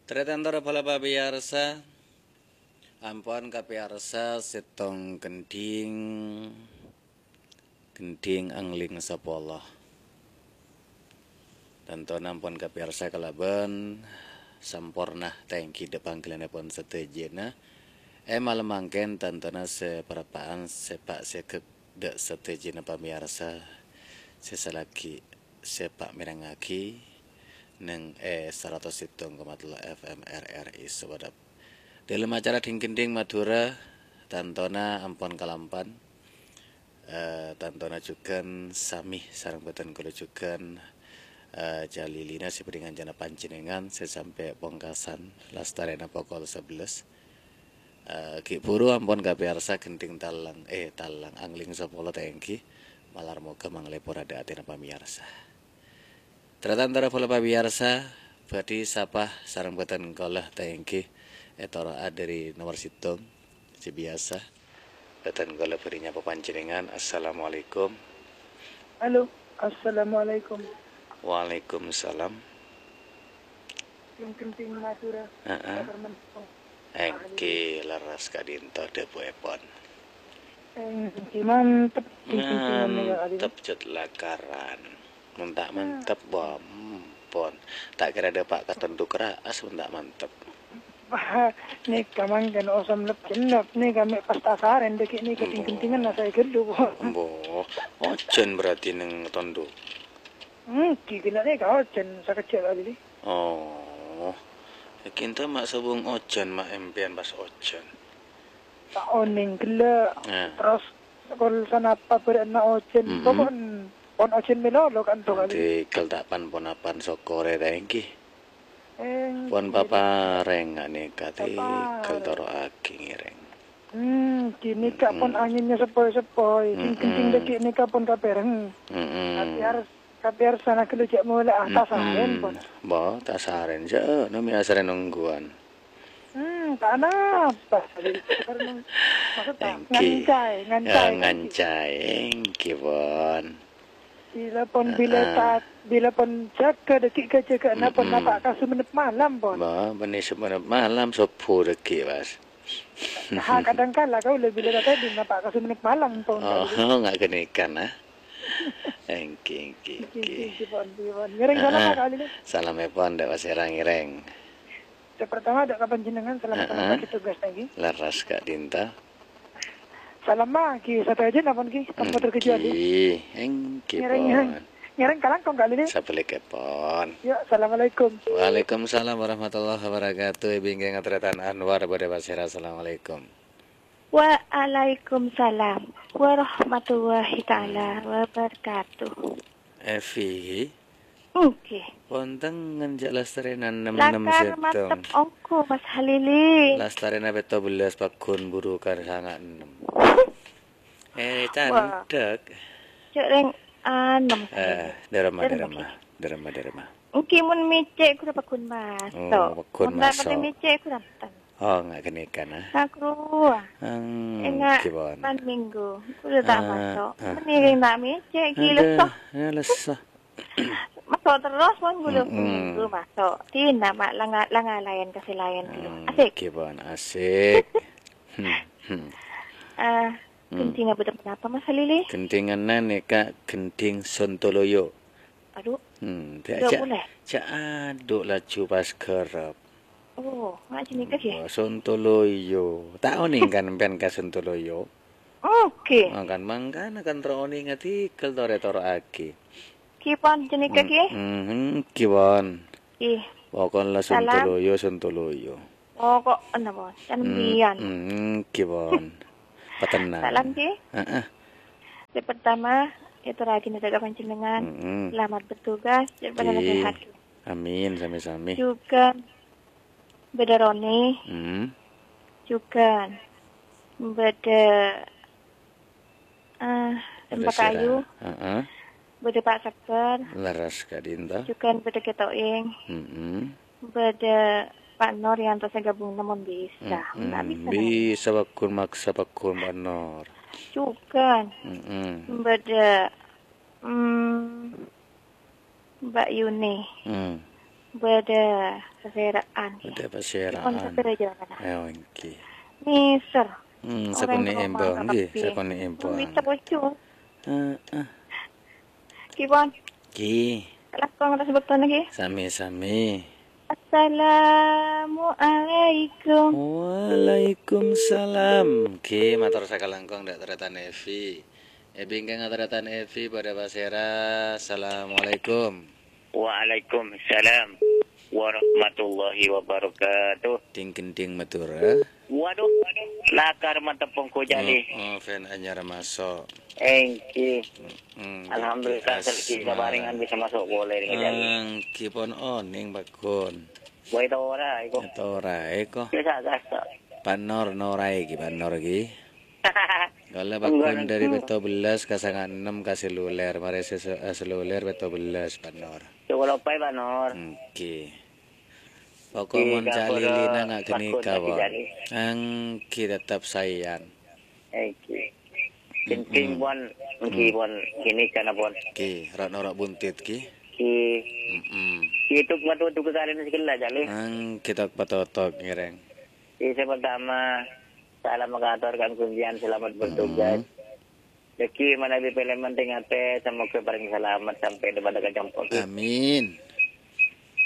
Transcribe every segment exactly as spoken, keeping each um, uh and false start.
Tarètan torè bhâlâ pamèyarsa, ampon kapèyarsa sèttong kendhing, kendhing angling sapolo. Tantona ampon kapèyarsa kalabân samporna, ta' ènggi dhâ' pangghâlânnèpon sadhâjâna. È malem mangkèn tantona sè parappa'an sè pa' sè ghâk dhâ' sadhâjâna pamèyarsa sè salaghi sè pa' mèrengngaghi neng è saratos sèttong koma tello F M R R I Sumenep. Dhâlem acara Dhing-Gendhing Madhurâ, tantona ampon kalampan. Eh, tantona jhughân sami sareng bhâdhân kaulâ jhughân, eh, jhâ' lilina sè bhâdhi ngancana panjhennengngan sè sampè' pongkasan lastarèna pokol sabellâs. Eh, ghi' bhuru ampon kapèyarsa gendhing tallang, eh, tallang, angling sapolo ta' ènggi, malar moghâ mangalèpor adâ' atèna pamèyarsa. Tarètan torè bhâlâ pamèyarsa, bhâdhi sapa sareng bhâdhân kaulâ ta' ènggi ètoro'a dhâri nomor sèttong sè biyasa. Bhâdhân kaulâ bhâdhi nyapa panjhennengngan. Assalamualaikum. Halo, assalamualaikum. Waalaikumsalam. Sing gendhing Madhurâ. Heeh. Ènggi lerres ka'dinto dhâbuèpon. Ènggi mantep. Mantep, jhât lakaran. Mon ta' mantep, wah, ampon. Ta' kèra dâpa' ka tondhu' ra'as mon ta' mantep. Wah, nèka mangkèn osom lep-cellep, nèka mè' pas tasarèn dhâggi' nèka Mbo. Ting-gendhingan nasa'è ghâllu, Bu. Mbo, ojhân berarti neng tondhu'. Ènggi, ghi' nèka ojhân sakejjhâ' kalè, Li. Oh. Ènggi enta ma' sobung ojhân, ma' empèyan pas ojhân. Ta' onèng ghellâ'. Eh. Terros kol sanapa bârâ'na ojhân. Mm-mm. Pokok pon ojhân mèlolo kan to kalè. Dhâddhi kal ta' pan-ponapan sokorè ta' ènggi. Ènggi. Pon paparèng nèka dhâddhi kal toro'aghi ngèrèng. Hmm, ghânèka pon Mm-mm. anginnya sepoi-sepoi. Sing Mm-mm. gendhing dhâggi' nèka pon kapèreng. Mm-mm. Kapèyar-, kapèyarsana ghellâ' jhâ' molè, ah, Mm-mm. tasarèn pon. Bo, tasarèn jhâ', nami asarèn ongghuwân. Hmm, ta' napa. Maksudnya, Ènggi. Ngancay, ngancay, Ah, ngancay, ènggi, pon. Bilâ pon, bilâ Heeh. ta-, bilâ pon jâgâ dhâggi' ghâjâgâ'na pon Mm-mm. napa' ka Sumenep malem, pon. Ba, bânnè Sumenep malem, sobbhu dhâggi', Mas. Ha, kadhâng kala kaulâ bilâ ta' tèdung napa' ka Sumenep malem, pon. Oh, nga' ghânèka, nah. Ènggi, ènggi, Ènggi, ènggi. ènggi, pon, ènggi, pon. Ngèrèng salam Heeh. ka kalè, Li. Salam èpon, dâ' pasèra ngèrèng. Sè partama, dâ' ka panjhennengngan, salamet Heeh. pagi, tugas lagi. Lerres ka'dinto. Salam, Ma, ghi sadhâjâna pon, ghi. Tanpa terkecuali. Ènggi, ènggi, Ngèrèng, pon. ngèrèng kalangkong kalè, Li. Sabhâligghâ pon. Ya, assalamualaikum. Waalaikumsalam warahmatullahi wabarakatuh. Ènggi ngatrètan Anwar bâdâ pasèra. Assalamualaikum. Waalaikumsalam warahmatullahi taala Hmm. wabarakatuh. Evi. Ènggi. Pontengngen jhâ' lastarèna ennem ennem Lakar sèttong. mantep ongghu, Mas Halili. Lastarèna pètto bellâs pagghun buru ka sanga ennem. Eh, Wah. candhek. Jhâ' rèng anem. Eh, dâremma, Dâremma, dâremma. Dâremma, dâremma. Ènggi mon mècè' ghuru pagghun maso'. Oh, pagghun Mon ta' maso'. patè mècè' ghuru enten. Oh, nga' ghânèka, nah. Sakruwa. Ènga' Ènggi, pon. pan minggu. Kudu ta' Ah, maso'. ah, Mending ah. ta' mècè', ghi Adâ, lesso. ya, lesso. Maso' terros, pon, gulung Mm-mm. minggu maso'. Tina, ma', langa-, langa laèn ka sè laèn dulu. Asik. Ènggi, pon, asik. Hmm, hmm. Eh, Hmm. gendhingnga bâdâ ponapa, Mas Halili? Gendhingnga nèka gendhing Sontoloyo. Adhu. Hmm, Nggak jhâ', boleh. jhâ' adhu laju pas ghârâp. Oh, nga' jhâ' nèka, ghi? Wah, Sontoloyo. Ta' onèng kan sampèyan ka Sontoloyo? Oke. Mangkan-mangkana kan terro onènga dhigghâl torè toro'aghi. Ghi pon jhâ' nèka, ghi? Hmm, hmm, ghi pon. Ih. Pokokna Salam. Sontoloyo, Sontoloyo. Pokokna, pon. Can Hmm, mbiyan. hmm, ghi pon. Patenang. Salam, ghi. Heeh. Sè pertama, atorraghina dâ' ka panjhennengngan. Mm-mm. Selamat bertugas, jhâ' padâna Ghi. sehat. Amin, sami-sami. Jhughân bâdâ Roni. Hmm. Jhughân bâdâ, eh, Bâdâ Empa' Kayu. Sira. Heeh. Bâdâ Pa' Sabbhâr. Lerres ka'dinto. Jhughân bâdâ Kè To'ing. Mm-mm. Bâdâ Pa' Nor Yanto sè gabung, namong bisa. Mm-mm. Nggak bisa, namong. Bisa, pagghun maksa, pagghun Pa' Nor. Jhughân. Mm-mm. Bâdâ, mm, Mbak Yuni. Hmm. Bâdâ pasèra'an, ghi. Bâdâ pasèra'an. Dipun sètèr jâ, kana. Ayo, èngghi. Nèser. Hmm, Orèng sakonè' rowa embuwâng, ngghi, kabbhi. Sakonè' embuwâng. Mita bocor. Heeh. Ghi, pon. Ghi. Langkong atas bektona, ghi. Sami-sami. Assalamualaikum. Waalaikumsalam. Ghi, mator sakalangkong, dâ' tarètan Evi. Ebi èngkang atarètan Evi bâdâ pasèra. Assalamualaikum. Waalaikumsalam warahmatullahi wabarakatuh. Ding-gending Madura. Waduh, lakar mantep pongko jali. Oh, oh, fan anyar maso'. Èngghi. Mm, Alhamdulillah, èngghi, selagi asma. Sabarengan bisa masuk boleh nih, jali. Èngghi pon onèng, Pak Gun. Boy tora, iko. Tora, iko. Bisa, bisa. Pak Nor, Norai ki, Pak Nor ki. Kaulâ Enggak, paggun dâri enggak. Pètto bellâs ka sanga ennem ka seluler, marè se-, eh, seluler pètto bellâs, Pak Nor. Coba lupa ya, Pak Nor. Èngghi. Pokok Di mon kapura calilina nga' paggun ghânèka, lagi pon. Jali. Èngghi, tetep saèyan. Èngghi. Gending, mm-mm. Pon, èngghi, mm. Pon, ghânèka na, pon. Ki, ro'-noro' buntit, ki. Ki. Mm-mm. Ki, tok matu-matu ka kalèna sè ghellâ', jali. Èngghi, tok patotok, ngèrèng. Ki, sè pertama, salam makator kan kuncian selamat bertugas. Mm-mm. Dhâggi' manabi pèlè mendhing atè, semoga parèng salamet sampè' dâ' padâ ka compo', ghi. Amin.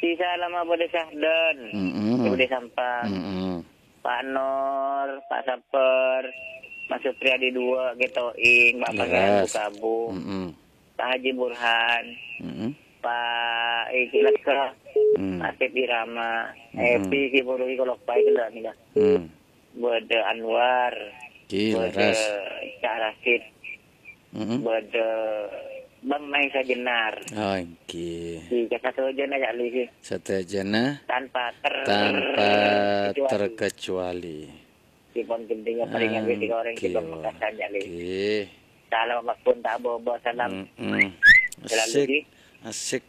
Sisa lama bâdâ Sahdan, mm-mm. Bâdâ Sampang, mm-mm. Pak Nor, Pak Saper, Mas Supriyadi dua, Getoing, Pak Pangeran Leres. Bukabu, mm-mm. Pak Haji Burhan, mm-mm. Pak Iki Leka, mm. Pak Asep Irama, mm-mm. Epi Ki Buruhi Kolokpai, gila, nih, dah. Mm. Bâdâ Anwar, Ki, bâdâ leres. Cak Rasid, mm-mm. Bâdâ Bang Maesa Jenar. Oh, èngghi. Ki, ka sadhâjâna, ya, Li, ki. Sadhâjâna tanpa ter-, tanpa terkecuali. Terkecuali. Dipun gendinga paringan wis, èngghi, orèng sè èngghi, pamekasan, ya, Li. Èngghi. Salam paggun ta' bobo, salam. Mm-mm. Selalu, asik, ki. Asik.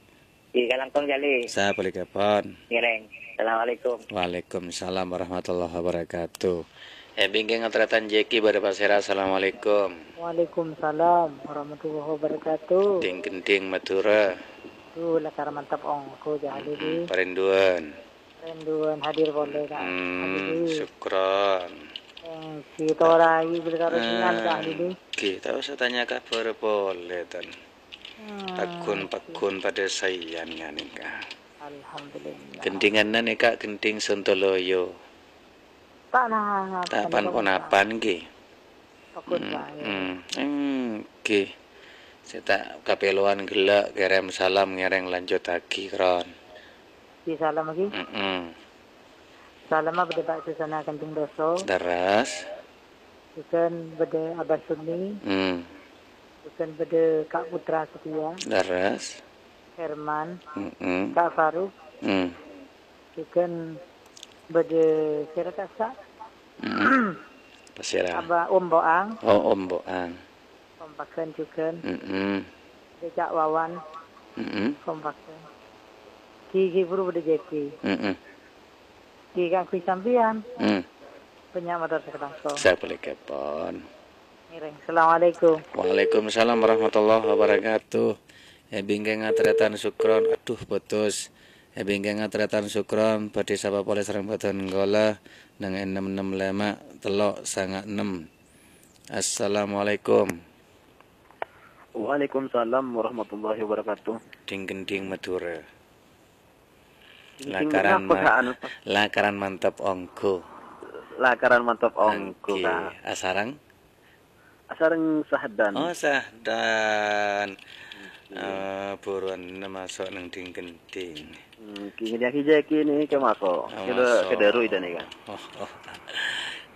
Di kalangkong jali. Sabalika pon. Ngèrèng. Assalamualaikum. Waalaikumsalam warahmatullahi wabarakatuh. Ebi èngkang atarètan Jeki bâdâ pasèra. Assalamualaikum. Waalaikumsalam warahmatullahi wabarakatuh. Ding-gending Madura. Duh, lakar mantep ongghu, Jali. Mm-mm, parinduan. Parinduan hadir polè, Kak. Mm-mm, Jali. Syukron. Èngghi, torai bilâ karo sinan, Kak Jali. Èngghi, ta' osa tanya kabhâr polè, Tan. Hmm, paggun-paggun padâ saèyan ghânèka. Alhamdulillah. Gendinganna nèka gending Sontoloyo. Ta' na-, ta' pan-ponapan, ghi. Paggun, hmm, saè. Hmm, èngghi. Sè ta' kapèlowan ghellâ' kèrèm salam ngèrèng lanjuttaghi, Kron. Di salam lagi. Mm-mm. Salamma bâdâ Pak Susana Kanjeng Doso. Leres. Jhughân bâdâ Abah Suni. Hmm. Jhughân bâdâ Kak Putra Setia. Leres. Herman. Mm-mm. Kak Faruk. Hmm. Jhughân bâdâ sèra kassa'. Mm-mm. Pasèra? Abah Om Boang. Oh, Om Boang. Kompakan jhughân. Mm-mm. Bâdâ Cak Wawan. Mm-mm. Kompakan. Ghi-ghi buru bâdâ Jeki. Mm-mm. Ghi kaangghuy sampèyan. Mm. Bânnya' mator sakalangkong. Sabalika pon. Ngèrèng. Assalamualaikum. Waalaikumsalam warahmatullahi wabarakatuh. Ebi èngkang atarètan Sukron. Aduh, putus. Ebi èngkang atarètan Sukron. Bhâdhi sapa polè sareng bhâdhân kaulâ neng ennem ennem lèma' tello' sanga ennem. Assalamualaikum. Waalaikumsalam warahmatullahi wabarakatuh. Ding-gending Madura. Ding-gending lakaran apa, ma-, Kak, anu, Pak? Lakaran mantep ongghu. Lakaran mantep ongghu, Kak. Asareng? Asareng Sahdan. Oh, Sahdan. Oke. Eh, buruan maso' neng ding-gending. Hmm, ki-, ki-, ki-, ki-, ini ke maso'. Oh, ke de-, maso'. Ke deru itu nih, Kak. Oh, oh.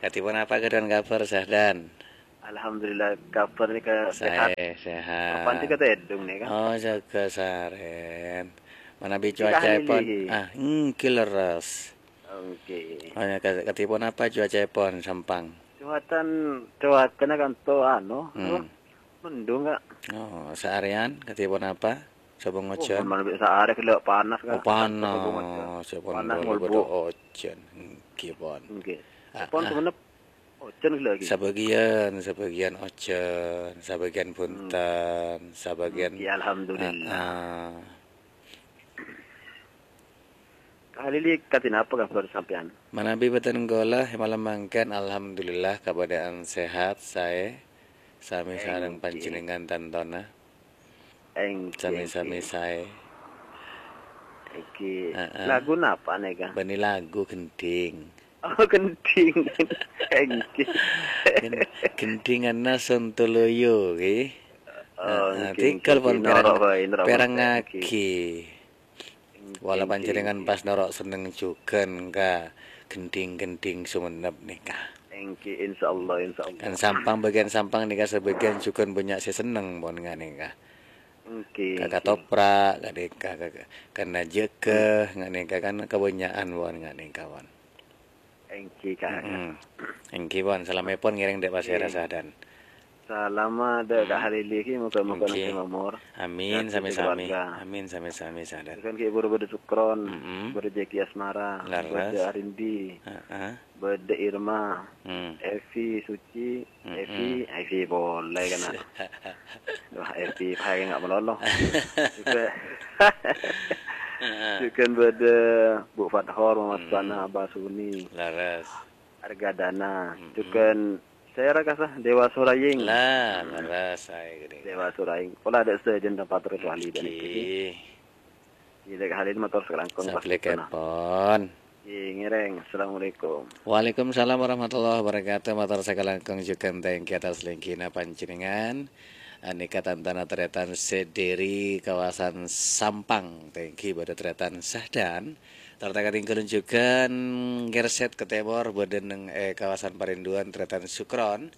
Katipun apa keadaan kabar, Sahdan? Alhamdulillah, kabar nèka sehat. Saè, sehat. Kapan sih kata edung nèka? Oh, jaga saren. Manabi cuacaèpon? Ah, èngghi lerres. Oke. Oh, ya, ka-, katipun apa cuacaèpon, Sampang? Cuacan, cuacana kan to, anu, hmm, apa? Mendung, Kak. Oh, saarèan katipun apa? Sabung ojan? Oh, mon manabi saarè gellâ' panas, Kak. Oh, panas. Sabung ojan. Panas, panas ngolbu. Ojan. Èngghi, pon. Èngghi. Ah, pon ah. Semenep. Ojan lagi. Sabâgiyân, sabâgiyân ojan, sabâgiyân, hmm, bhunten, sabâgiyân. Èngghi, alhamdulillah. Ah, ah. Halili, kadhi napa kabhâr sampèyan? Manabi bhâdhân kaulâ, è malem mangkèn, alhamdulillah, kabâdâ'ân sehat, saè, sami sareng panjhennengngan tantona. Èngghi, sami-sami èngghi. Saè. Èngghi. Heeh. Lagu napa nèka? Bânnè lagu gendhing. Oh, gendhing. Èngghi. Gen-, gendhinganna Sontoloyo, ghi. Oh, heeh, èngghi, tèngghâl èngghi, pon èngghi. Perang-, noro' bhâi, noro' bhâi, perangaghi. Èngghi. Wala èngghi, panjhennengngan èngghi. Pas noro' senneng jhughân ka gendhing-gendhing Sumenep nèka. Èngghi, insyaallah, insyaallah. Kan Sampang, bâgiân Sampang nèka sabâgiân jhughân bânnya' sè senneng pon nganèka. Èngghi, ka èngghi. Katoprak, ka nèka, ka, ka, ka Najâgâ, hmm, nganèka kan kabânnya'an pon nganèka pon. Èngghi, Kak. Mm-mm. Èngghi, pon. Salamèpon ngèrèng dâ' pasèra, èngghi. Sadan. Salama dâ' Kak, mm, Halili, ghi, moga-moga èngghi. Nangka mamor. Amin, sami-sami. Amin, sami-sami, Sadan. Kan ghi' buru bâdâ Sukron, mm-mm, bâdâ Jeki Asmara, lerres. Bâdâ Arindi, heeh, bâdâ Irma, hmm, Evi, Suci, mm-mm. Evi, Evi polè kan. Wah, Evi, paè nga' malolo. Jhughân, heeh, jhughân bâdâ Bu Fathor, Muhammad, hmm, Sana, Abah Suni. Lerres. Argadana. Mm-mm. Jhughân sèra kasa Dewa Suraying. Lah, hmm, lerres saè ghâdhing. Dewa Suraying. Pola dâ' sadhâjâna pator wali dan èngghi. Jadi, Kak Halil mator sakalangkong pas sabellekèpon. Èngghi, ngèrèng. Assalamualaikum. Waalaikumsalam warahmatullahi wabarakatuh. Mator sakalangkong jhughân thank you atas lèngghina panjhennengngan. Anèka tantona tarètan sè dâri kawasan Sampang. Thank you bâdâ tarètan Sahdan. Tor ta' katèngghâlân jhughân ngèrsèt ka tèmor bâdâ neng è kawasan Parindhuwân tarètan Sukron.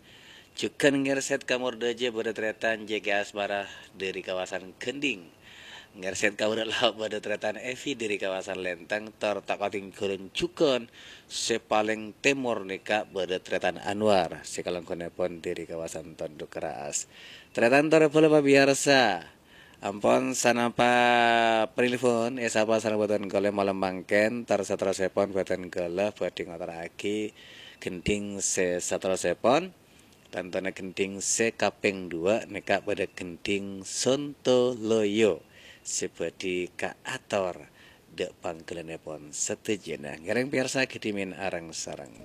Jhughân ngèrsèt ka mor dâjâ bâdâ tarètan J K Asmara dâri kawasan Gendhing. Ngèrsèt ka bârâ' lao' bâdâ tarètan Evi dâri kawasan Lenteng, tor ta' katèngghâlân jhughân sè palèng tèmor nèka bâdâ tarètan Anwar, sè kalangkonèpon dâri kawasan Tondhukraas. Tarètan tor bhâlâ pamèyarsa. Ampon sanapa penelpon, èsapa sareng bhâdhân kaulâ malem mangkèn, tor saterrossèpon bhâdhân kaulâ bhâdhi ngatorraghi gendhing sè saterrossèpon. Tantona gendhing sè kapèng duwâ' nèka bâdâ gendhing Sontoloyo sè bhâdhi kaator dâ' pangghâlânnèpon sadhâjâna. Ngèrèng pèyarsa ghâdhimèn areng-sareng.